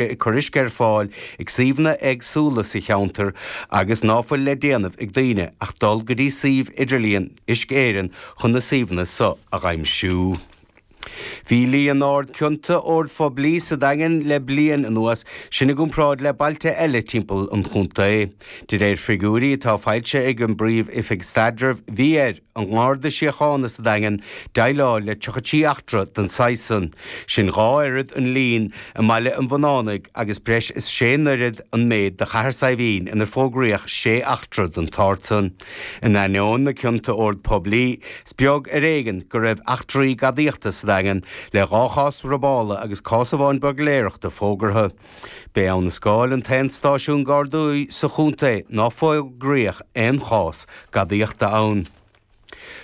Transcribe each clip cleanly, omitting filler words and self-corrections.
Ag cur uisce ar fáil ag suíomhanna éagsúla sa cheantar agus ná fuil le déanamh ag daoine ach dul go dtí suíomh idirlíon Uisce Éireann chun na suíomhanna so a dh'aimsiú. Bhí líon ard cionta oird phoiblí sa Daingean le bliain anuas, sin i gcomparáid le bailte eile timpeall an chontae. De réir figiúirí atá foilsithe ag an bPríomh-Oifig Staidrimh, bhí ar. an nGarda Síochána sa Daingean déileáil le 33 eachtra den saghas san, sin 2 oiread an lín i mBaile an Bhunánaigh agus breis is sé n-oiread an méid do Chathair Saidhbhín inar fógraíodh 6 eachtra den tsórt san. In ainneoin na cionta ord poiblí, is beag ar éigean go raibh eachtraí gadaíochta sa Daingean, le 2 chás robála agus cás amháin buirgléireachta fógartha. B'é Abha na Scáil an t-aon stáisiún Gardaí sa chontae ná fógraíodh aon chás gadaíochta ann.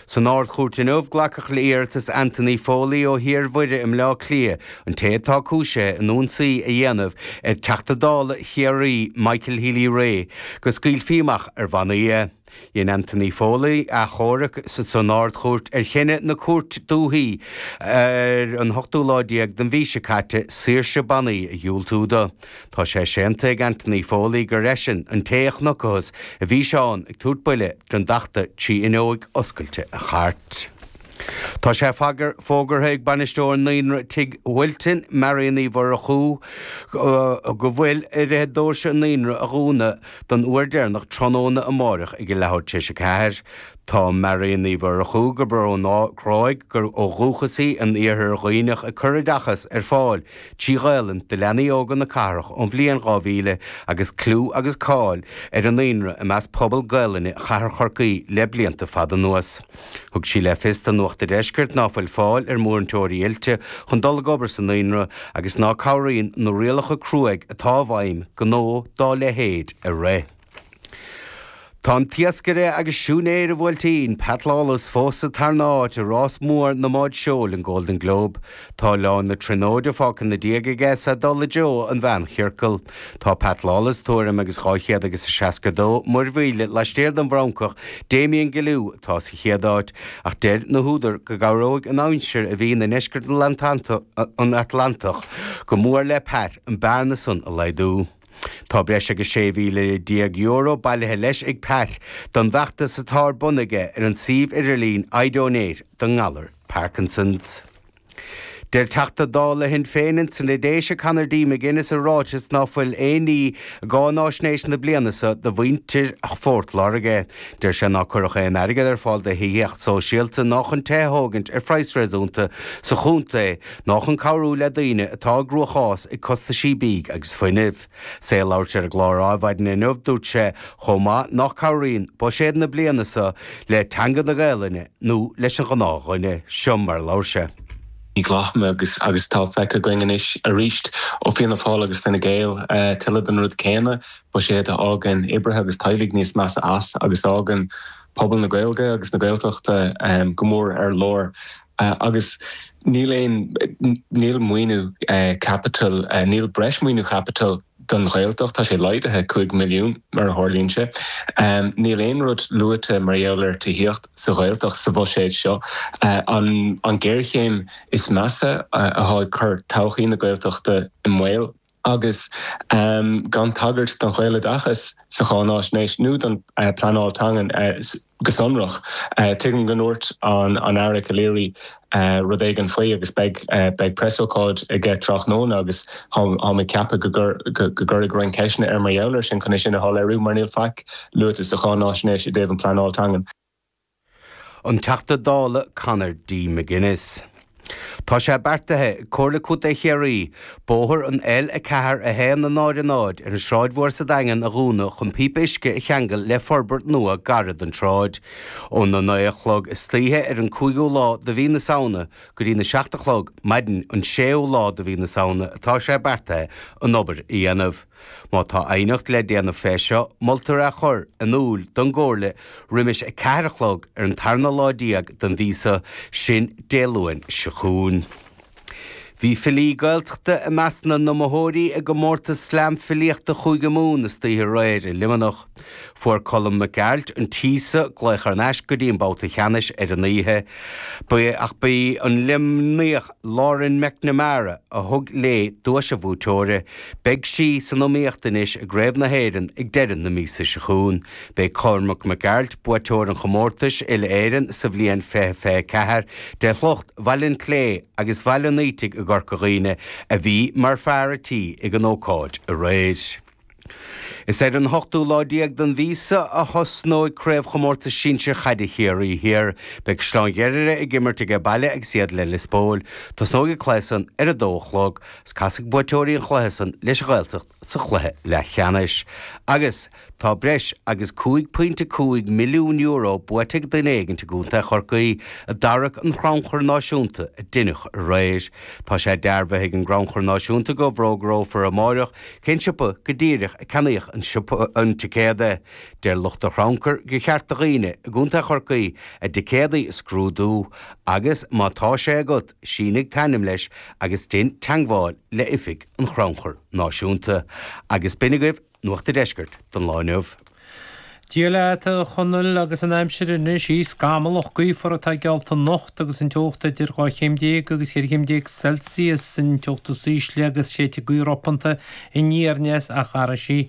San Ard-Chúirt inniu, glacadh le iarratas Anthony Foley ó Thír Mhuire i mBleá Cliath, an té atá cúisithe in ionsaí a dhéanamh ar Teachta Dála Chiarraí Michael Healy-Rae, go scaoilfí amach ar bhannaí é. Dhein Anthony Foley achomharc san Ard-Chúirt ar chinneadh na Cúirte Dúichí ar an ochtú lá déag den mhí seo caite saoirse bannaí a dhiúltú do. Tá sé séanta ag Anthony Foley gur eisean an té a chonacthas i bhfíseán ag tabhairt buille don dTeachta trí fhuinneoig oscailte an chairt. Tá sé fógartha ag bainisteoir Naíonra Tigh Mhaoiltin, Marion Uí Mhurchú, go bhfuil uirthi doirse an naíonra a dhúnadh don uair deireanach tráthnóna amáireach ag a leathuair tar éis a 4. Tá Marion Uí Mhurchú, gurb ón Ghráig ó dhúchas í, in Iarthar Dhuibhneach ag cur oideachas ar fáil trí Ghaelainn do leanaí óga na cathrach ón bhliain 2000 agus clú agus cáil ar an naíonra i measc pobal Gaelainne Chathair Chorcaí le blianta fada anuas. Thug sí le fios do Nuacht a' Deiscirt ná fuil fáil ar mhúinteoirí oilte chun dul ag obair sa naíonra agus ná cabhraíonn na rialacha cruaidh atá i bhfeidhm gnó dá leithéid a rith. Tá an t-iascaire agus siúinéir an Bhuailtín, Pat Lawless, fós sa tarna háit i rás mór na mbád seoil, an Golden Globe. Tá Oileán na Tríonóide fágtha ina diaidh aige is é ag dul i dtreo an mheánchiorcail. Tá Pat Lawless tuairim agus 200 agus 62 muirmhíle laistiar den bhFrancach Damien Guillou atá sa chéad áit, ach deir na húdair go gcabhróidh an aimsir a bhíonn i ndeisceart an Atlantach go mór le Pat an bearna san a laghdú. Tá breis agus €16,000 bailithe leis ag Pat don bhfeachtas atá ar bun aige ar an suíomh idirlín iDonate don ngalar Parkinson's. Deir Teachta Dála Shinn Féin ins na Déise Conor D McGuinness i ráiteas ná fuil aon ní i gcáináisnéis na bliana seo do mhuintir Phort Láirge. Deir sé ná cuireadh aon airgead ar fáil do thithíocht sóisialta ná chun tithe a thógaint ar phraghas réasúnta sa chontae ná chun cabhrú le daoine atá i gcruachás ag costaisí bídh agus fuinnimh. 'S é ag labhairt ar an gclár Adhmhaidin inniu dúirt sé chomh maith nach cabhraíonn buiséad na bliana seo le teanga na Gaelainne nó leis an ghnáthdhuine. Seo mar a labhair sé. Ní ghlacaim agus agus tá feicthe againn anois arís ó Fianna Fáil agus Fine Gael tuilleadh den rud céanna, buiséad a fhágann oibrithe agus teaghlaigh níos measa as agus a fhágann pobal na Gaeilge agus na Gaeltachta go mór ar lár. Agus níl aon, níl maoiniú caipitil, níl breis maoiniú chaipitil don Ghaeltacht, tá sé laghdaithe 5 milliún mar a tharlaíonn sé. Níl aon rud luaite mar gheall ar tithíocht sa Ghaeltacht sa bhuiséad seo. An ghéarchéim is measa atá ag cur todhchaí na Gaeltachta i mbaol. agus gan tagairt don Ghaeloideachas sa cháináisnéis nó don pleanáil teangan go sonrach. Tuigim go ndúirt an Aire Calleary rud éigin faoi agus beidh beidh preasócáid aige tráthnóna agus táim ag ceapadh go gcuirfidh roinnt ceisteanna air mar gheall air sin chun é sin a shoiléiriú mar níl faic luaite sa cháináisnéis i dtaobh an pleanáil teangan. An Teachta Dála Conor D. McGuinness. Tá sé beartaithe ag Comhairle Contae Chiarraí bóthar an L4 1 0 0 ar an Sráid Mhór sa Daingean a dhúnadh chun píopa uisce a cheangal le forbairt nua gairid don tsráid. Óna 9 a chlog istoíche ar an 5ú lá de mhí na Samhna go dtí na 7 a chlog maidin an 6ú lá de mhí na Samhna atá sé beartaithe an obair a dhéanamh. Má tá aighneacht le déanamh fé seo, moltar é a chur in úil don gComhairle roimis 4 a chlog ar an tarna lá den mhí seo, sin Dé Luain seo chugainn. Bhí filí Gaeltachta i measc na n-iomaitheoirí i gcomórtas Slam Filíochta Chúige Mumhan istoíche aréir i Luimneach. Fuair Colm Mac Gearailt an tí so glaoch thar n-ais go dtí an babhta cheannais ar an oíche. Ba ach ba í an Luimníoch Lauren McNamara a thug léi duais an bhuaiteora. Beidh sí san iomaíocht anois i gCraobh na hÉireann ag deireadh na míosa seo chugainn. B'é Cormac Mac Gearailt buaiteoir an chomórtais Uile-Éireann sa bhliain 2024 de shliocht Bhaile an tSlé agus Bhaile an Fhaoitigh i gCorca Dhuibhne a bhí mar fear a tí ag an ócáid aréir. Is ar an hochtú lá déag den mhí seo a thosnóidh Craobhchomórtas Sinsir Chaide Chiarraí Thiar. Beidh Caisleán Ghriaire ag imirt aige baile agus iad le Lios Póil. Tosnóidh an cluiche san ar a dó a chlog. Is casfaidh buaiteoirí an chluiche san leis an Ghaeltacht sa chluiche leathcheannais. Agus tá breis agus €5.5 milliún buaite ag duine éigin i gContae Chorcaí i dtarrac an Chrannchuir Náisiúnta a deineadh aréir. Tá sé dearbhaithe ag an gCrannchur Náisiúnta go bhfógrófar amáireach cén siopa go díreach a ceannaíodh an siopa an ticéad. Deir lucht an chrannchuir gur cheart do dhaoine i gContae Chorcaí a dticéadaí a scrúdú agus má tá sé agat, sínigh t'ainm leis agus dein teangmháil le oifig an Chrannchuir Náisiúnta. Agus b'in agaibh Nuacht a' Deiscirt don lá inniu. Dia leat, a Chonaill, agus an aimsir anois í scamallach gaofar atá geallta anocht agus an teocht idir 12 chéim agus 14 chéim Celsius, an teocht is ísle agus séidfidh gaoth ropanta aniar aneas ach athróidh sí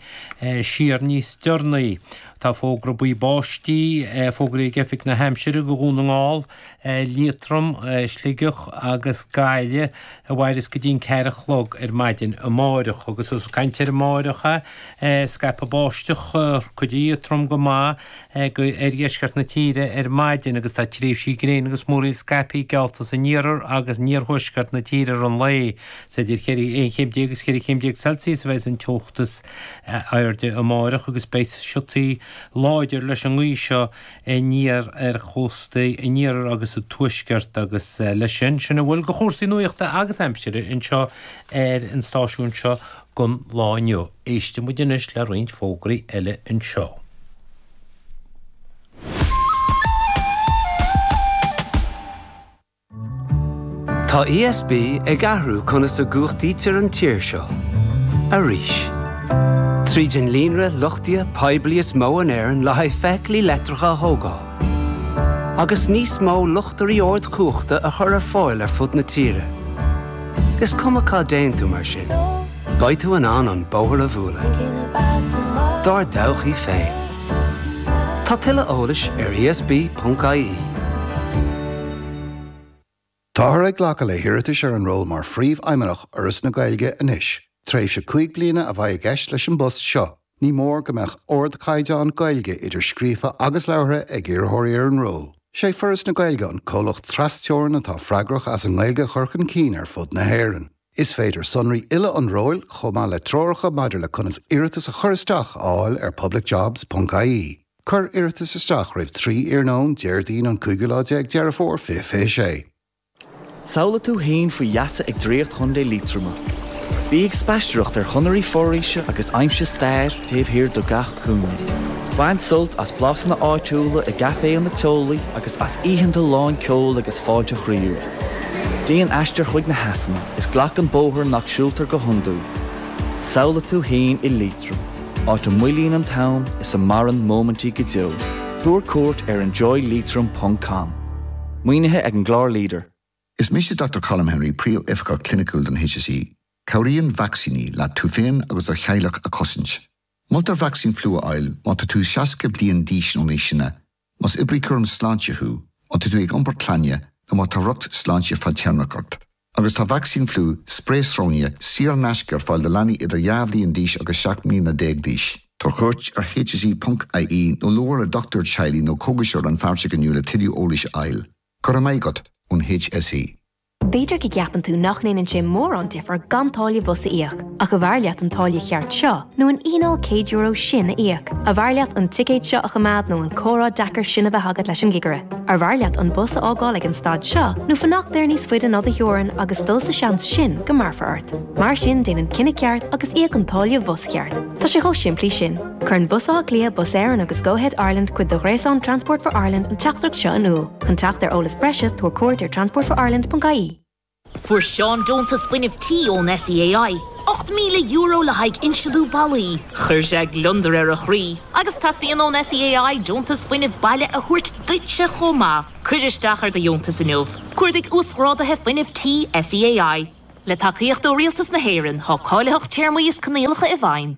siar níos deireanaí. Tá fógra buí báistí fógraithe ag Oifig na hAimsire do Dhún na nGall Liatroim, Sligeach agus Gaillimh a mhairfeas go dtí an ceathair a chlog ar maidin amáireach. Agus ós ag caint ar amáireach é, scaipfidh báisteach cuid di trom go maith ar dheisceart na tíre ar maidin agus tá tréimhsí gréine agus múraíl scaipthe geallta san iarthar agus in iarthuaisceart na tíre i rith an lae. Is idir 11 chéim agus 14 chéim Celsius a bheas an teocht is airde amáireach agus beidh siotaí láidir leis an ngaoth seo aniar ar chóstaí an iarthair agus an tuaiscirt agus leis sin, sin a bhfuil de chúrsaí nuachta agus aimsire anseo ar an stáisiún seo don lá inniu. Éistfidh muid anois le roinnt fógraí eile anseo. Tá ESB ag athrú conas a gcumhachtaítear an tír seo. Arís. Tríd an líonra luchtaithe poiblí is mó in Éirinn le haghaidh feithiclí leictreacha a thógáil. Agus níos mó luchtairí ardchumhachta a chur ar fáil ar fud na tíre. Is cuma cá dtéann tú mar sin, beidh tú in ann an bóthar a bhualadh. Dár dtodhchaí féin. Tá tuilleadh eolais ar esb.ie. Táthar ag glacadh le hiarratais ar an ról mar Phríomhfheidhmeannach Fhoras na Gaeilge anois. Tréimhse 5 bliana a bheidh i gceist leis an bpost seo. Ní mór go mbeadh ardchaighdeán Gaeilge idir scríofa agus labhartha ag iarrthóirí ar an ról. Sé Foras na Gaeilge an comhlacht tras-teorann atá freagrach as an nGaeilge a chur chun cinn ar fud na hÉireann. Is féidir sonraí uile an róil, chomh maith le treoracha maidir le conas iarratas a chur isteach a fháil ar publicjobs.ie. Cuir iarratas isteach roimh 3 iarnóin Déardaoin an cúigiú lá déag Deireadh Fómhair 2026. Samhlaigh tú féin faoi gheasa ag Draíocht Chontae Liatroma. Bí ag spaisteoireacht ar chonairí foraoise agus aimsigh stair taobh thiar de gach cúinne. Bain sult as blasanna áitiúla i gcaiféanna teolaí agus as oícheanta lán ceoil agus fáilte chroíúil. Déan aistear chuig na heasanna is glac an bóthar nach siúltar go hiondúil. Samhlaigh tú féin i Liatroim. Áit a moillíonn an t-am is a maireann móimintí go deo. Tabhair cuairt ar enjoyleitrim ponc com. Maoinithe ag an gclár Leader. Is mise Dr Colm Henry, Príomhoifigeach Cliniciúil don HSE. Cabhraíonn vacsaíní leat tú féin agus do theaghlach a chosaint. Moltar vacsaín fliú a fháil má tá tú 60 bliain d'aois nó níos sine, más oibrí cúraim sláinte thú, má tá tú ag iompar clainne nó má tá riocht sláinte fadtéarmach ort. Agus tá vacsaín fliú sprae sróine saor in aisce ar fáil do leanaí idir 2 bhliain d'aois agus 17 mbliana d'aois. Tabhair cuairt ar hse.ie nó labhair le dochtúir teaghlaigh nó cógaiseoir rannpháirteach inniu le tuilleadh eolais a fháil. Go raibh maith agat ón HSE. B'fhéidir go gceapann tú nach ndéanann sé mórán difear gan táille bhus a íoc, ach arbh fhearr leat an táille cheart seo nó an fhíneáil €100 sin a íoc? Arbh fhearr leat an ticéad seo a choimeád nó an comhrá deacair sin a bheith agat leis an gcigire? Arbh fhearr leat an bus a fhágáil ag an stad seo nó fanacht air níos faide ná do theorainn agus dul sa seans sin go mbraithfear ort? Mar sin, déan an cinneadh ceart agus íoc an táille bhus cheart. Tá sé chomh simplí sin. Cuireann Bus Átha Cliath, Bus Éireann agus Go-Ahead Ireland, cuid de ghréasán Transport for Ireland, an teachtaireacht seo in iúl. Chun teacht ar eolas breise, tabhair cuairt ar transportforireland.ie. Fuair Seán deontas fuinnimh tí ón SEAI, €8,000 le haghaidh insealú ballaí. Chuir sé gliondar ar a chroí. Agus teastaíonn ón SEAI deontas fuinnimh baile a thabhairt duitse chomh maith. Cuir isteach ar do dheontas inniu. Cuardaigh Uasghráduithe Fuinnimh Tí SEAI. Le tacaíocht ó Rialtas na hÉireann, tá cáilitheacht, téarmaí is coinníollacha i bhfeidhm.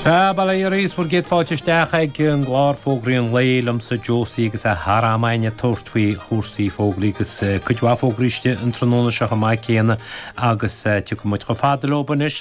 Sea, bail ó Dhia oraibh is bhur gcéad fáilte isteach ag an gclár Fógraí an Lae liomsa Josie agus é thar am againn ag tabhairt faoi chúrsaí fógraí agus cuid mhaith fógraí istigh an tráthnóna seo chomh maith céanna agus tiocfaidh muid chomh fada leo anois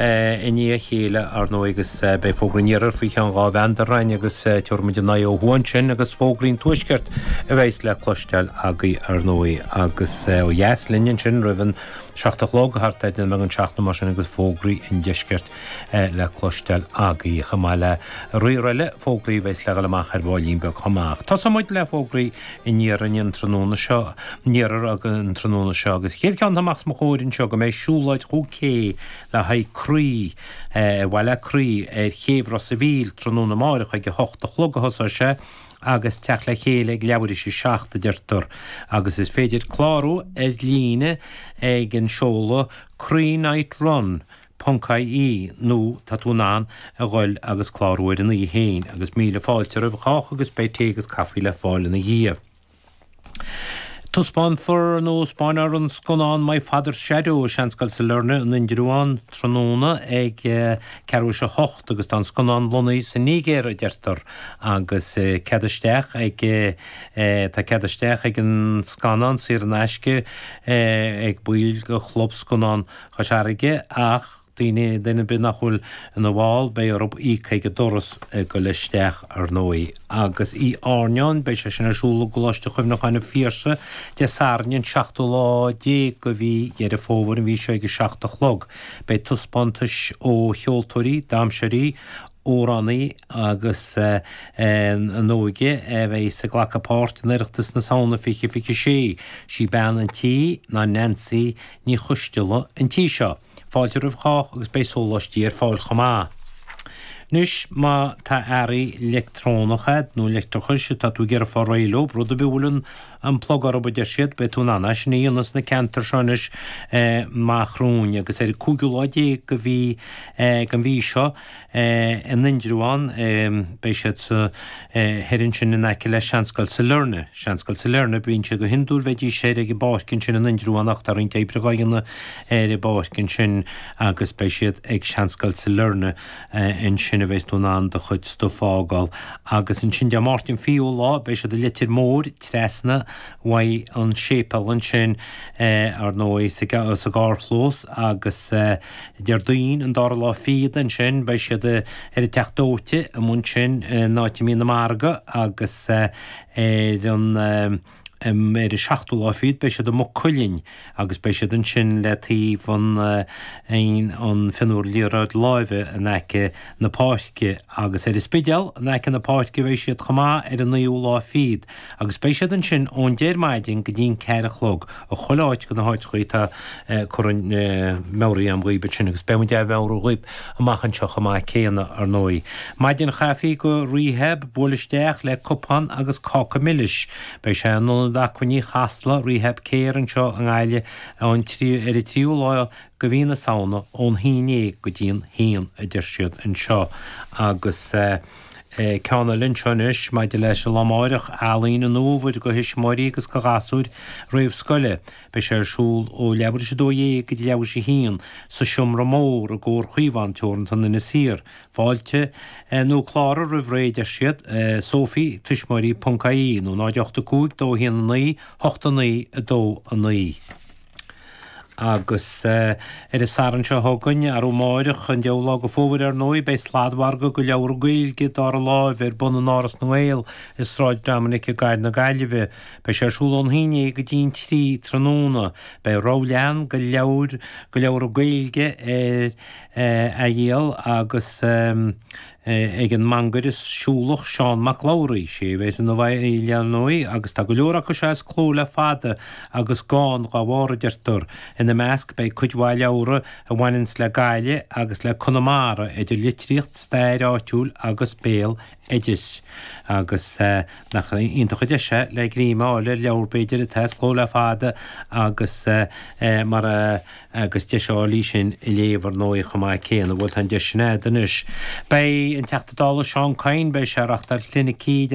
i ndiaidh a chéile, ar ndóigh, agus beidh fógraí an iarthair faoi cheann 2 mheandar againn agus tabharfaidh muid an aghaidh ó thuaidh ansin agus fógraí an tuaiscirt a bheas le cloisteáil agaibh, ar ndóigh, agus ó dheas linn ansin roimh an 7 a chlog, thart ar 7 don 7 nó mar sin agus fógraí an deiscirt le cloisteáil agaibh, chomh maith le riar eile fógraí a bheas le dhul amach ar bhaillín beag chomh maith. Tosóidh muid le fógraí an iarthair an tráthnóna seo, an iarthair an tráthnóna seo agus chéad cheann atá amach os mo chomhair anseo go mbeidh siúlóid chúig K le haghaidh croí, ar mhaith le croí, ar chéibh Ros a' Mhíl tráthnóna amáireach ag 8 a chlog a thosóidh sé agus teacht le chéile ag leathuair théis a 7 a deirtear agus is féidir clárú ar líne ag an seoladh croínightrun. ponc ie nó tá tú in ann a ghoil agus clárú ar an oíche féin agus míle fáilte roimh chách agus beidh tae agus caife le fáil ina dhiaidh. Taispeánfar nó 'spáinfear an scannán My Father's Shadow i Seanscoil Sailearna in Indreabhán tráthnóna ag ceathrú théis a hocht agus tá an scannán lonnaithe sa Nigéir a deirtear agus cead isteach ag tá cead isteach ag an scannán saor in aisce ag baill de Chlub Scannán Chois Fharraige ach daoine, duine ar bith nach bhfuil ina bhall, beidh orthu íoc ag an doras ag goil isteach, ar ndóigh. Agus Oíche Airneáin, beidh sé sin ar siúl i gColáiste Chuimhneacháin an Phiarsaigh, Dé Sathairn an seachtú lá déag de mhí Dheireadh Fómhair, an mhí seo ag a 7 a chlog. Beidh taispeántais ó cheoltóirí, damhsóirí, amhránaí agus an óige a bheidh ag glacadh páirt in Oireachtas na Samhna 2026. Sí bean an tí ná Nancy Ní Choisteala an tí seo. Fáilte roimh chách agus beidh sóláistí ar fáil chomh maith. Anois má tá earraí leictreonacha a'd nó leictreachais atá tú ag iarraidh fáil réidh leo, rud ar bith a bhfuil an plug orthu a deir siad, beidh tú in ann é sin a dhéanamh sna ceantair seo anois i Maigh Chromtha agus ar an cúigiú lá déag de mhí den mhí seo in Indreabhán beidh siad sa thoir ansin in aice le Seanscoil Sailearna. Seanscoil Sailearna, bíonn siad go hiondúil bheidís thoir ag an bpáirc ansin in Indreabhán ach tá roinnt oibre dhá dhéanamh ar an bpáirc ansin agus beidh siad ag Seanscoil Sailearna ansin a bheas tú in ann do chuid stuif a fhágáil. Agus ansin Dé Máirt an 20ú lá beidh siad i Leitir Móir trasna uaidh an séipéal ansin ar ndóigh sa gcarrchlós agus Déardaoin an dara lá fichead ansin beidh siad ar an Teach Dóite amuigh ansin in áit a mbíonn an margadh agus ar an ar an seachtú lá fichead beidh siad i Maigh Cuilinn agus beidh siad ansin le taobh an an mhionúir liathróid láimhe in aice na páirce agus ar an Spidéal in aice na páirce beidh siad chomh maith ar an naoú lá fichead agus beidh siad ansin ón deich ar maidin go dtí an ceathair a chlog i chuile áit de na háiteachaí atá curtha meabhraithe agam dhaoib ansin agus beidh muid á mheabhrú dhaoib amach anseo chomh maith céanna ar ndóigh. Maidin chaife go Rehab, buail isteach le cupán agus cáca milis. Beidh sé in Ionad Acmhainní Chasla, Rehab Care anseo i nGaillimh ar an tríú lá de mhí na Samhna ón haon déag go dtí an haon a deir siad anseo agus ceann eile anseo anois maidir leis an lá amáireach, Ealaín an Fhómhair do thuismitheoirí agus do ghasúir réamhscoile. Beidh sé ar siúl ó leathuair théis a 12 go dtí leathuair théis a haon sa Seomra Mór i gComhar Chaomhán Teoranta in Inis Oírr. Fáilte nó cláraigh roimh ré a deir siad, Sophie, tuismitheoirí ponc ie nó 0 8 5 2 1 9 8 9 2 9. Agus ar an Satharn seo chugainn, arú amáireach, an deichiú lá de Fómhair ar ndóigh, beidh sladmhargadh de leabhra Gaeilge dara láimhe ar bun in Áras na nGael i Sráid Dominic i gCathair na Gaillimhe. Beidh sé ar siúl ón 11 go dtí an 3 tráthnóna. Beidh rogha leathan de leabhair de leabhra Gaeilge ar a dhíol agus. Ag an mangaire siúlach Seán Mac Labhraí. Sé a bheas ina bhfeighil ar ndóigh agus tá go leor acu seo as cló le fada agus gann dá bharr a deirtear. Ina measc beidh cuid mhaith leabhra a bhaineanns le Gaillimh agus le Conamara idir litríocht, stair áitiúil agus béal oideas. Agus nach iontach an deis é le greim a fháil ar leabhar b'fhéidir atá as cló le fada agus mar a agus deis a fháil í sin a léamh ar ndóigh chomh maith céanna. Bhuel tá an deis sin a'd anois. Beidh an Teachta Dála Seán Kyne, beidh sé ag reachtáil clinicí Dé.